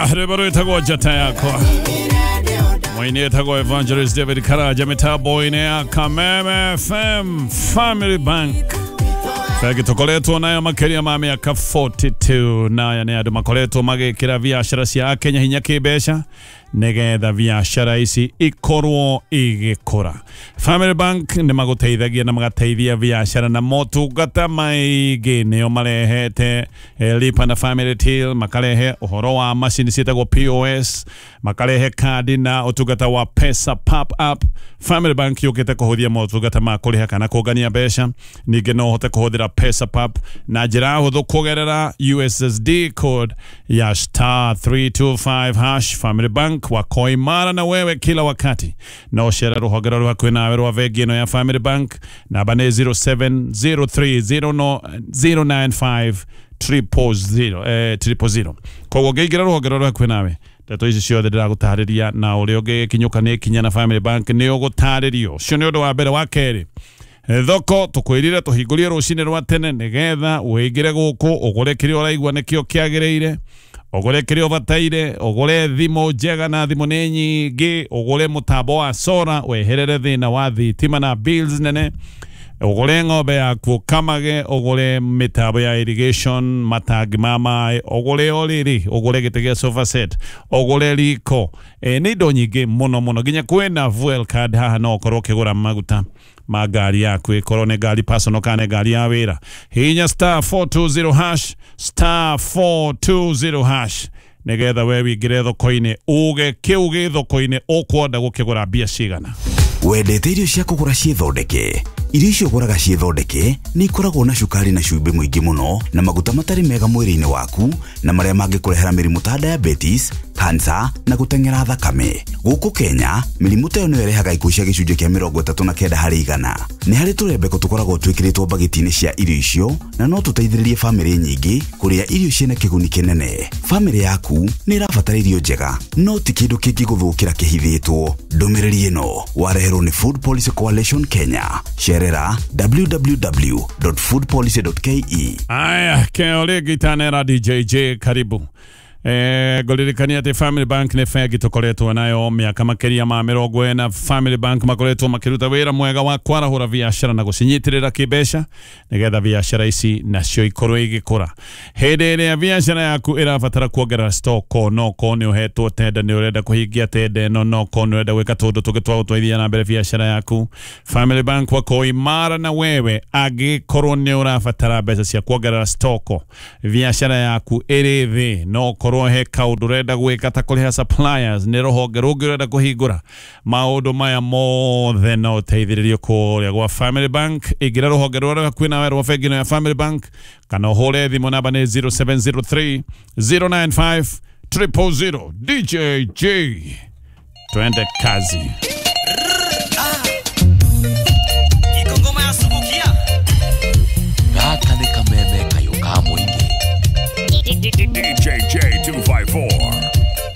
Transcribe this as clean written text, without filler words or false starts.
Aya, rwĩmbo rwĩtagwo Njata Yakwa, mwini etagwo Evangelist David Karaja, mĩtambo-inĩ ya Kameme FM. Family Bank, bengi tũkoretwo nayo makĩria ma mĩaka 42, naya nĩ andũ makoretwo magĩkĩra biacara cia Akenya hinya kĩmbeca nĩgetha biacara ici ikorwo igĩkũra. Family Bank nĩ magũteithagia na magateithia biacara na motungata maingĩ. Nĩo marehete Lipa na Family Till, makarehe ũhoro wa macini ciĩtagwo POS, makarehe kandi na ũtungata wa Pesa Pop Up. Family Bank yũkĩte kũhũthia motungata ma kũrĩha kana kũngania mbeca. Ningĩ no ũhote kũhũthĩra Pesa Pop na njĩra hũthũ kũgerera USSD code ya *325 hash. Family Bank wako imara na wewe kila wakati. No ũcere rũhonge rũrĩ hakuhĩ nawe rwa bengi ĩno ya Family Bank. Namba nĩ 0703 095 000, 000. Koguo ũngĩingĩra rũhonge rũrĩ hakuhĩ nawe, ndeto ici ciothe ndĩragũtarĩria na ũrĩa ũngĩkinyũka nĩ ikinya na Family Bank nĩ ũgũtarĩrio. Ũcio nĩ ũndũ wa mbere. Wa kerĩ, thoko tũkwĩrire tũhingũrie rũcinĩ rwa tene nĩgetha ũingĩre gũkũ ũgũre kĩrĩa ũraigua nĩkĩo kĩagĩrĩire, ũgũre kĩrĩa ũbataire, ũgũre thimũ njega, na thimũ nĩ nyingĩ, ũgũre mũtambo wa solar weherere thĩna wa thitima na bills nene, ũgũre ng'ombe yaku ũkamage, ũgũre mĩtambo ya irrigation, matangi ma maĩ, ũgũre ũrĩrĩ, ũgũre gĩtĩ gĩa sofa set, ũgũre riko. Nĩ indo nyingĩ mũno mũno. Nginya kwĩna fuel card haha, no ũkorwo ũkĩgũra maguta ma ngari yaku, ĩkorwo nĩ ngari personal kana nĩ ngari ya wĩra. Hihinya *420 hash, *420 hash, nĩgetha we wingĩre thoko-inĩ, uge kĩu gĩ thoko-inĩ ũkwenda gũkĩgũra mbia cigana. Wendete irio cia kũgũra ciĩthondeke? Irio icio ũgũraga ciĩthondeke nĩ ikoragwo na cukari na cumbĩ mũingĩ mũno na maguta matarĩ mega mwĩrĩ-inĩ waku, na marĩa mangĩkũrehera mĩrimũ ta diabetes, cancer na gũteng'era thakame. Gũkũ Kenya, mĩrimũ ta ĩyo nĩyo ĩrehaga ikuũ cia gĩcunjĩ kĩa 39%. Nĩ harĩ tũrembeko tũkoragwo twĩkĩrĩtwo mbagiti-inĩ cia irio icio, na no tũteithĩrĩrie bamĩrĩ nyingĩ kũrĩa irio ciĩna kĩguni kĩnene. Bamĩrĩ yaku nĩ ĩrabatara irio njega, no ti kĩndũ kĩngĩgũthũkĩra kĩhithĩtwo. Ndũmĩrĩri ĩno wareherwo nĩ Food Policy Coalition Kenya. Cerera www.foodpolicy.ke. Aya, keo rĩngĩ itanera DJJ karibu. Ngũririkania atĩ Family Bank nĩ bengi tũkoretwo nayo mĩaka makĩria ma 40. Family Bank makoretwo makĩruta wĩra mwega wa kwarahũra biacara na gũcinyitĩrĩra kĩmbeca nĩgetha biacara ici nacio ikorwo igĩkũra. Hĩndĩ ĩrĩa biacara yaku ĩrabatara kuongerera stock, no korwo nĩ ũhetwo tenda, nĩ ũrenda kũhingia tenda ĩno, no korwo nĩ ũrenda gwĩka tũndũ tũngĩ twa gũtwarithia na mbere biacara yaku, Family Bank wako imara na wewe. Angĩkorwo nĩ ũrabatara mbeca cia kuongerera stock, biacara yaku ĩrĩ thĩ, no korwo he kaũndũ ũrenda gwĩka ta kũrĩha suppliers, nĩ rũhonge rũngĩ ũrenda kũhingũra, maũndũ maya mothe no ũteithĩrĩrio kũrĩa gwa Family Bank. Ingĩra rũhonge rũrĩa hakuhĩ nawe rwa bengi ĩno ya Family Bank, kana ũhũre thimũ, namba nĩ 0703 095 000. DJJ, twende kazi.